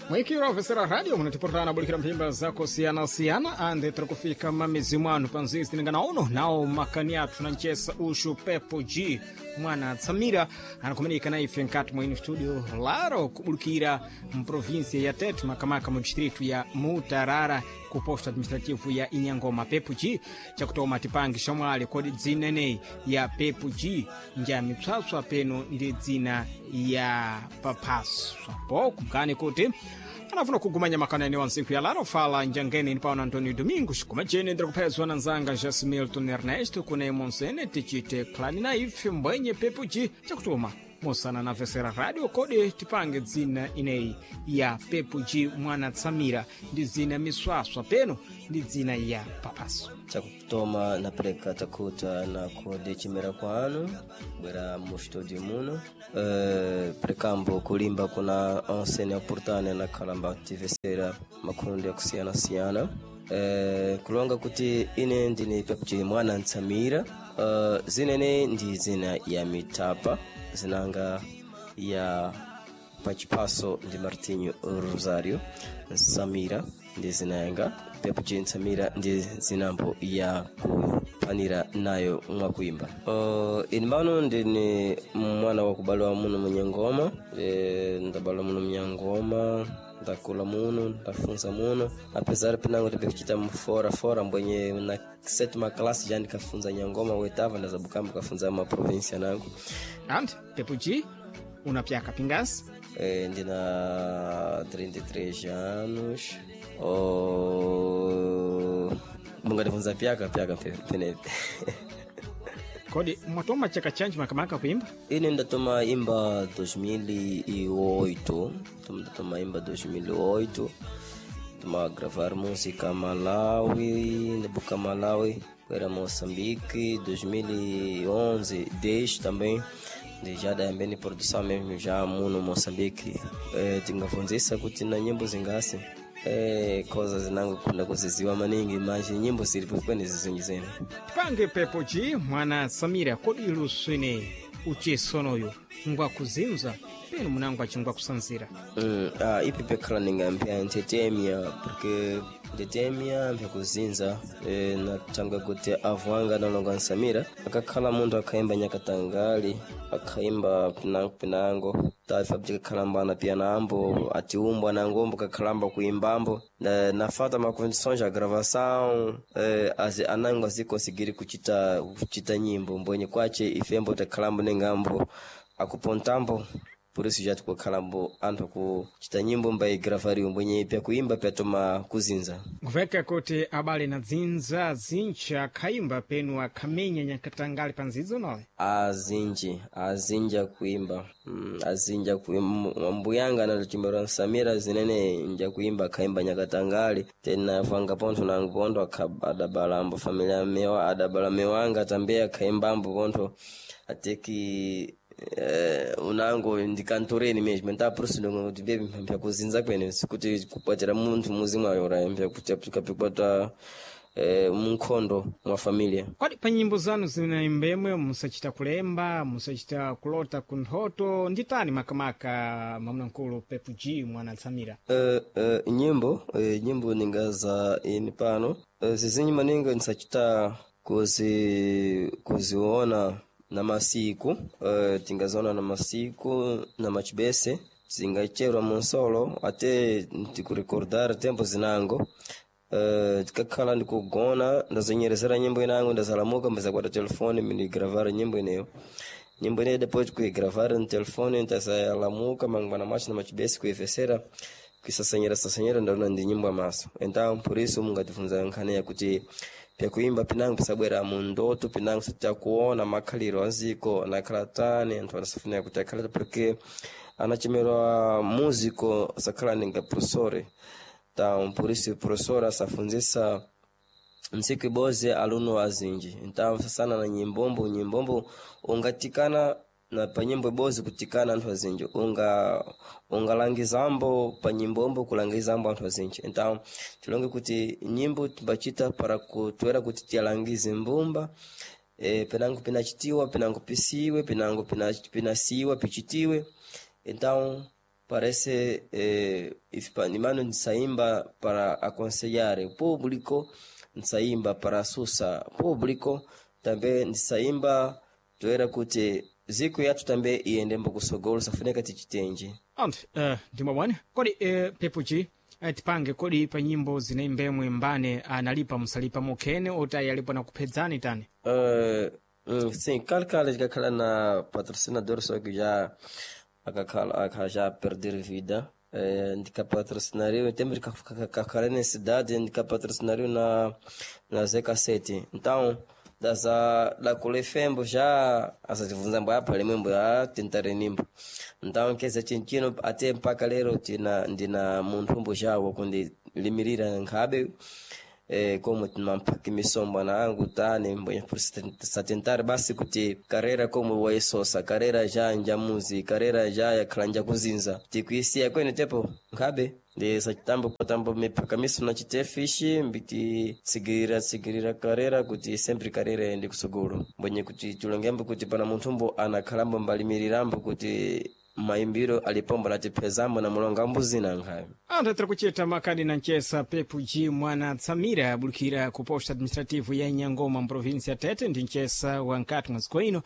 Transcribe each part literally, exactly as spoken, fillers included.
Mwikiro vesera radio munatiportana bulikira mphimba zakosiyana-siyana ande tiri kufika mamizi mwanu panzizi tiningana uno nawo makani athu na nchesa uxu Pepo G mwana Tsamira anakumanika na ife nkati mwa ino studio laro kubulikira mprovinsia ya Tete makamaka mu distrito ya Mutarara ku posto administrativo ya Inyangoma. Pepo G chakutoma tipange xamwali kodi dzina eneyi ya Pepo G nja mipswapswa peno ndi dzina ya paphaswa po kumkani kuti anafuna kugumanya makana ene wa ntsiku ya laro fala njangene ni paona Antonio Domingos kumajene ndiri kuphezwa na nzanga Jas Milton Ernesto kune monsene tichite klani na ife mbwenye Pepo G chakutuma mosana na vesera radio kodi tipange dzina ineyi ya Pepo G mwana Tsamira ndi dzina miswaswa peno ndi dzina ya papaso. Chakutoma napereka takuta na kodi chimera kwanu bwera mu studio muno uh, prekambo kulimba kuna onsene oportane na kalamba tivesera makundi akusiyana-siyana uh, kulonga kuti ine ndini Pepo G mwana Ntsamira uh, zinene ndi zina ya mitapa zinanga ya pachipaso ndi Martinho Rosario Nsamira ndi zina yanga Pepo G Nsamira ndi zinambo ya kupanira nayo mwakuimba. uh, ini pano ndini mwana wakubalwa muno munyangoma e, ndabalwa muno munyangoma, ndakula muno, ndafunza muno, apesar pinango tipikuchita mfora fora mbwenye na sétima classe já ndikafunza nyangoma oitava ndazabukambo kafunza ma província nango. Ante Pepo G unapyaka pingasi? Eh, ndina trinta e três anos. Oh, mungandifunza pyaka pyaka penepe. Kodi mwatoma chaka chanji makamaka kuimba? Ine ndatoma imba dois mil e oito, ndatoma imba dois mil e oito, toma gravar música Malawi, ndabuka Malawi era Moçambique dois mil e onze, dez também já dayambeni produção mesmo já muno Moçambique. eh, tingafunzisa kuti na nyimbo zingasi eh, koza zinango kunda kuziziwa maningi mas nyimbo zilipo kwene zizinji zene. Tipange Pepo G mwana Samira kodi iluso ineyi uchesonoyo ngwakuzinza peno munango achingwa kusanzira? Mm, ah, ipi pekhala ningampya ntetemya porque ntetemya mpyakuzinza e, natanga kuti avu anga nalonga Nsamira akakhala munthu akhaimba nyakatangali akhaimba pinango pinango taifa bzikakhalamba pianambo atiumbwa nangombo kakhalamba kuimbambo na, nafata ma condições a gravação eh, azi anango azikonsegiri kuchita kuchita nyimbo mbwenye kwache ifembo takhalambo nengambo akupontambo, por isso já tikukhalambo anthu akuchita nyimbo mbaigravariwa mbwenye pyakuimba pyatoma kuzinza. Nkuveka kuti abale na dzinza zincha akhaimba penu akhamenya nyakatangali pa nzidzo nole? Azinji azinji akuimba mm, azinji akuimba mbuyanga anatochimbera Nsamira zinene nja kuimba akhaimba nyakatangali tena vanga pontho nangu pontho adabalambo familia mewa adabala mewanga tambe akhaimbambo pontho ateki eh, unango ndikantoreni mesmo então por isso não kuti bebe mpyakuzinza kwene sikuti kupatira munthu muzi mwayo ora mpyakuti eh, munkhondo mwa familia. Kodi pa nyimbo zanu zinaimbemwe musachita kulemba musachita kulota kunthoto nditani makamaka mamnamkulu Pepo G mwana Tsamira? uh, uh, nyimbo uh, nyimbo ningaza ini pano uh, zizinyi maningi nsachita kuzi kuziona na masiku uh, tingaziona na masiku na machibese zingacherwa munsolo ate ntikurekordar tempo zinango uh, tikakhala ndikugona ndazonyerezera nyimbo inango ndazalamuka mbazakwata telefone mindigravara nyimbo ineyo nyimbo ineyo depois kuigravar no telefone ndazalamuka mangwana macho na machibese kuivesera kuisasanyira sasanyira ndaona ndi nyimbo amaso. Então por isso mungatifunza nkhani yakuti pyakuimba pinango pisabwera mundoto pinango sitakuona makhaliro aziko anakhala tani anthu anasafunira kuti akhalata porque anachemerwa músico sakhala ninga professore. Então por isso professor asafunzisa ntsiku iboze aluno azinji, então sasana na nyimbombo nyimbombo ungatikana na pa nyimbo ibozi kutikana anthu azinji unga ungalangizambo pa nyimbombo kulangizambo anthu azinji. Então tilonge kuti nyimbo timbachita para kutwera kuti tiyalangize mbumba e, penango pinachitiwa penango pisiwe penango pina, pinasiwa pichitiwe. Então Parece eh, imano nsaimba para aconselhar o público, nsaimba para asusa público, também nsaimba toera kuti ziko yathu tambe iyendembo kusogolo safunika tichitenje. Anthu uh, ndimwabwana kodi uh, pepuchi uh, tipange kodi pa nyimbo zinaimbemwe mbane analipa musalipa mukhene otayi alipo nakuphedzani tani? Uh, mm, sim, kale tikakhala na patrocinador só que já akakhala akha já perder vida. Eh, ndikapatrocinariu em tempo de kakhala na cidade, ndikapatrocinariu na na Z sete. Então daza dakule fembo já asatibvunza mbo apa limwembo a tentare nimbo. Então keza chinchino ate mpaka lero tina ndina munthu mbo jawo kundilimirira nkhabe eh, como timampaki misombo na angu tani mbwenye satentare basi kuti karera como waisosa karera já njamuzi karera já yakhala njakuzinza tikuisiya kwene tepo nkhabe ndi sachitambo kutambo mipaka miso na chitefishi mbiti tsigirira tsigirira karera kuti sempre karera iyende kusogolo mbwenye kuti tilongembo kuti pana munthumbo anakhalambo mbalimirirambo kuti maimbiro alipombo natiphezambo na mulongambo zina nkhabe. Anthu atiri kuchita makadi na mchesa Pepu G mwana Tsamira abulukira ku posto administrativo ya Nyangoma mprovinsi ya Tete ndi mchesa wa nkati mwa dziko ino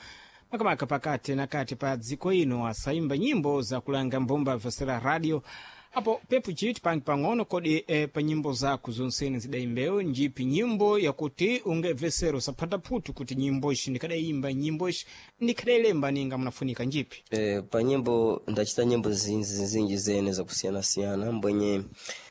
makamaka pakati na kati pa dziko ino asaimba nyimbo zakulanga mbumba vesera radio apo Pepu G tipange pang'ono kodi e, pa nyimbo zako zonsene zidayimbewo njipi nyimbo yakuti ungemvesero usaphata phutu kuti nyimbo ici ndikadayimba nyimbo ici ndikadayilemba ninga munafunika njipi? Eh, pa nyimbo ndachita nyimbo zinji zinji zene zakusiyana-siyana mbwenye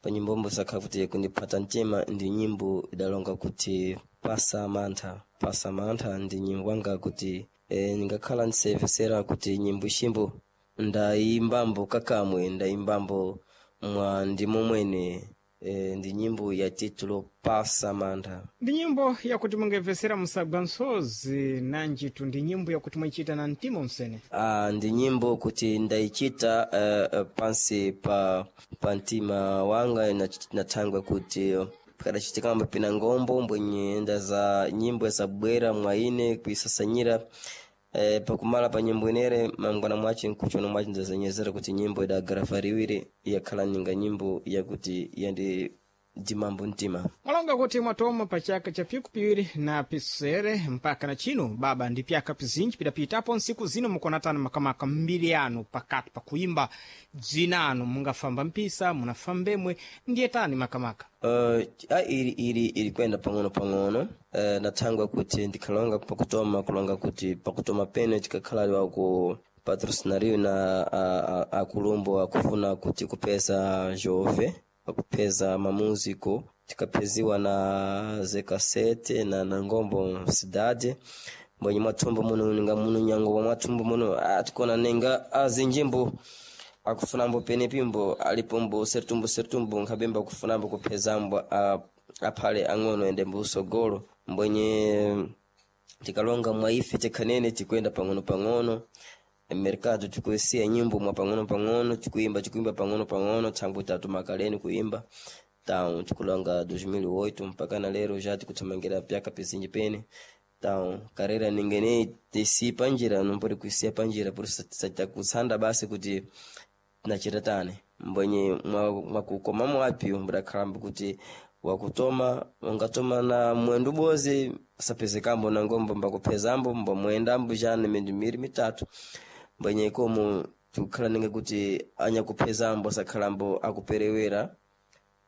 pa nyimbombo zakhala kuti kundiphata mtima ndi nyimbo idalonga kuti pasa mantha. Pasa mantha ndi nyimbo anga kuti eh, ndingakhala ndisayimvesera kuti nyimbo iximbo ndayimbambo kakamwe ndayimbambo mwa ndimo mwene eh, ndi nyimbo ya titulo Pasa Mantha. Ndi nyimbo yakuti mungemvesera musagwa msozi nanjitu ndi nyimbo yakuti mwayichita na mtima msene. Ah, ndi nyimbo kuti ndayichita uh, pansi pa pa mtima wanga nathangwe kuti pakadachitikamba pina ngombo mbwenye ndaza nyimbo zabwera mwa ine kuisasanyira eh, pakumala pa nyimbo inere mangwana mwace nkuchona mwace ndazanyezera kuti nyimbo idagravariwire yakhala ninga nyimbo yakuti yandi dimambo mtima. Mwalonga kuti mwatoma pa chaka cha piku piwiri na pisere mpaka na chino baba ndi pyaka pizinji pidapitapo nsiku zino mukonatana makamaka mbiri yanu pakati pakuimba dzina anu mungafamba mpisa munafambemwe ndiye tani makamaka? Uh, a ili ili ili kwenda pang'ono pang'ono. uh, nathangwa kuti ndikhalonga pakutoma kulonga kuti pakutoma pene tikakhala waku patrocinariyo na akulumbo akufuna kuti kupeza jove akupeza mamúsico tikapheziwa na zekasete na na ngombo cidade mbwenye mwathumbo muno ninga muno nyango mwathumbo muno ah, tikona ninga azinjimbo akufunambo penepimbo alipombo sertumbo sertumbo nkhabemba akufunambo kuphezambo aphale ang'ono ende mbusogolo mbwenye tikalonga mwaife tikhanene tikwenda pang'ono pang'ono mercado tikuisiya nyimbo mwa pang'ono pang'ono tikuimba tikuimba pang'ono pang'ono thangwe tatu makaleni kuimba tau tikulonga dois mil e oito mpaka na lero já tikuthamangira pyaka pizinji pene tau karera ningene tisi panjira numpori kuisiya panjira por satakutsanda basi kuti tinachita tani mbwenye mwakukoma mwapi mbudakhalambo kuti wakutoma ungatoma na mwendu bozi sapezekambo na ngombo mbakuphezambo mbamwendambo jana mindu miri mitatu mbwenye komo tikukhala ninga kuti anyakuphezambo sakhalambo akuperewera.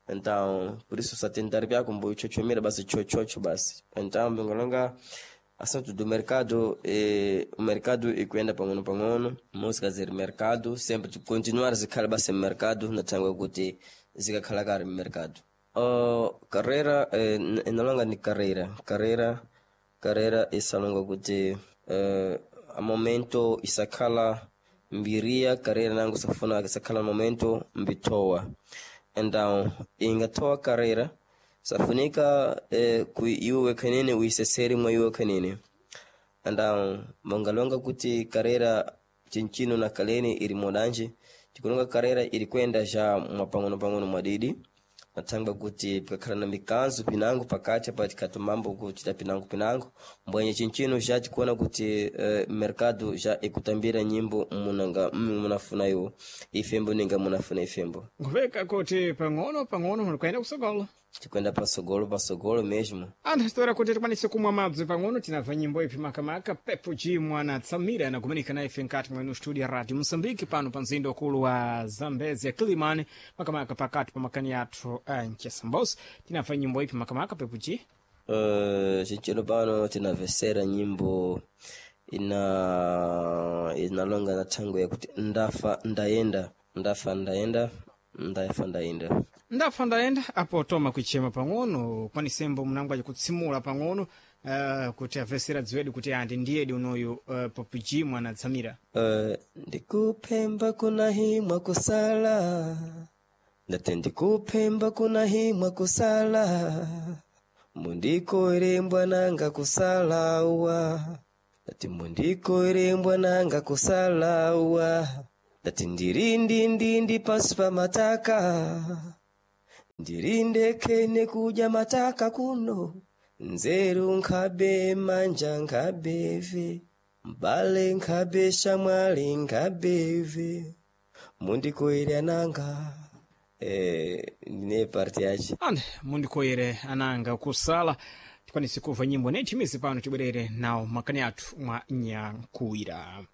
Então por isso satentar pyako mboichochomera basi chochocho basi. Então mbingolonga assunto do mercado eh, o mercado ikuenda pang'ono pang'ono música ziri mercado sempre continuar zikhala basi mercado nathangwe kuti zikakhala kale mercado. Uh, carreira eh, inalonga ni carreira carreira carreira isalonga kuti eh, a momento isakhala mbiria carreira nangu safuna isakhala momento mbitoa. Então ingatoa carreira safunika eh, kui iwe khanene uiseseri mwa iwe khanene. Então mongalonga kuti carreira chinchino na kaleni ili modanje tikulonga carreira ili kwenda ja mwa pang'ono pang'ono mwadidi. Nathangwa kuti pikakhala na mikanzo pinango pakati apa tikatomambo kuchita pinango pinango mbwenye chinchino já tikuona kuti eh, mercado já ikutambira nyimbo munanga munafuna iwo ifembo ninga munafuna ifembo. Nkuveka kuti pang'ono pang'ono mulikuyenda kusogolo. Tikwenda pasogolo pasogolo mesmo. Anthu asitora kuti tikwanise kumwa madzi pang'ono, tinamva nyimbo ipi makamaka Pepo G mwana Tsamira anakumanika na ife nkati mwenu studio ya Radio Moçambique pano pa mzinda ukulu wa Zambezi ya Kilimani, makamaka pakati pa makani athu a Nchesambos. Tinamva nyimbo ipi makamaka Pepo G? Uh, chinchino pano tinavesera nyimbo ina inalonga na thango yakuti ndafa ndayenda, ndafa ndayenda, ndafa ndayenda. Ndafa ndayenda apo toma kuichema pang'ono kwanisembo mnango acikutsimula pang'ono uh, kuti avesera dziwedu kuti andi ndiyedi unoyu uh, Pepo G mwana Tsamira. Uh, ndikuphemba kuna himwa kusala, ndate ndikuphemba kuna himwa kusala, mundikoerembwa nanga kusalawa, ndati mundikoerembwa nanga kusalawa, ndati ndiri ndindindi pasi pa mataka, ndiri ndekene kudya mataka kuno, nzeru nkhabe manja nkhabeve, mbale nkhabe shamwali nkhabeve, mundikoere ananga. Eh, ndine parti yace. Ande mundikoyere ananga kusala tikwanise kuva nyimbo nethimizi pano tibwerere nawo makani athu mwa nyankuwira.